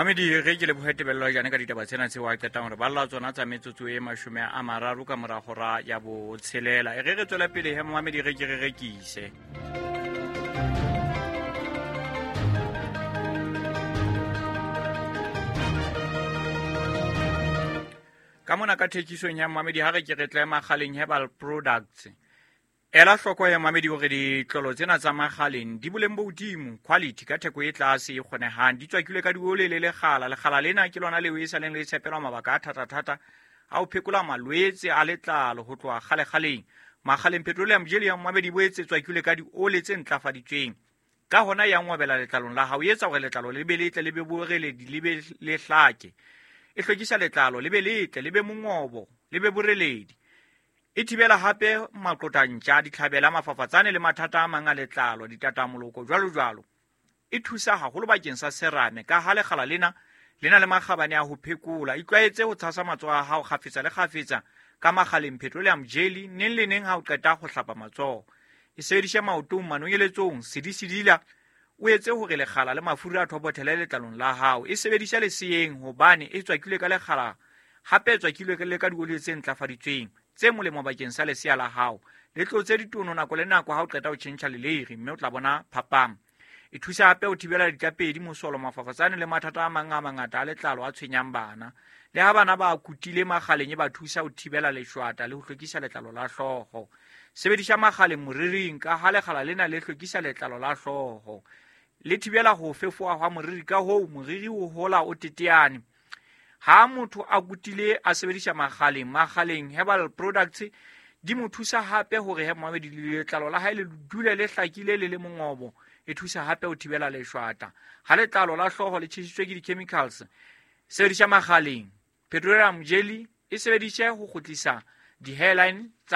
Mamedi, ge ke leboge tebelelo jane ka ditaba tsena tseo a qetang gore balla tsona tsa metsotso e 30 ka moragora ya botshelela. E ge re tswela pele he, mamedi, ge ke re rekise ka mona ka thekisong ya mamedi, ha re ke re tle Magaleng Herbal Products. Ela hloko ya mamedi hore ditlolo tsena tsa Magaleng di boleng bo hodimo, quality, ka theko e tlase e kgonehang. Di tswakilwe ka diole le lekgala. Lekgala lena ke lona leo e sa leng le tshepelwa mabaka a thata-thata a ho phekola malwetse a letlalo ho tloha kgale-kgaleng. Magaleng Petroleum Jelly ya mamedi boetse tswakilwe ka diole tse ntlafaditsweng. Ka hona ya ngwabela letlalong la hao, e etsa hore letlalo le be letle, le be boreledi, le be le hlake. E hlwekisa letlalo le be letle, le be mongobo, le be boreledi. E thibela hape maqotantja, ditlhabela, mafafatsane le mathata a mang a letlalo, ditatamoloko, jwalo jwalo. E thusa haholo bakeng sa serame ka ha lekgala lena le na le makgabane a ho phekola. Itlwaetse ho tshasa matsoho a hao kgafetsa le kgafetsa ka Magaleng Petroleum Jelly neng le neng ha o qeta ho hlapa matsoho. E sebedise maotong, manonyeletsong, sedisedila, o etse hore lekgala le mafura a thopothele letlalong la hao. E sebedise leseyeng hobane e tswakilwe ka lekgala, hape e tswakilwe le ka dioli tse ntlafaditsweng tse molemo bakeng sa lesea la hao. Le tlotse ditono nako le nako ha o qeta ho tjhentjha leleiri, mme o tla bona phapang. E thusa hape ho thibela ditlapedi, mosolo, mafafatsane le mathata a mang a mangata a letlalo a tshwenyang bana. Le ha bana ba kutile Magaleng, e ba thusa ho thibela leshwata le ho hlwekisa letlalo la hlooho. Sebedisa Magaleng moriring ka ha lekgala lena le hlwekisa letlalo la hlooho, le thibela ho fefoha hwa moriri, ka hoo moriri o hola o teteane. Ha motho a kutile a sebedisa Magaleng, Magaleng Herbal Products di mo thusa hape hore he moamedi letlalo la hae le dule le hlakile le le mongobo. E thusa hape ho thibela leshwata. Ha letlalo la hlooho le tjhesitswe ke di-chemicals, sebedisa Magaleng Petroleum Jelly, e sebedise ho kgutlisa di-hairline tsa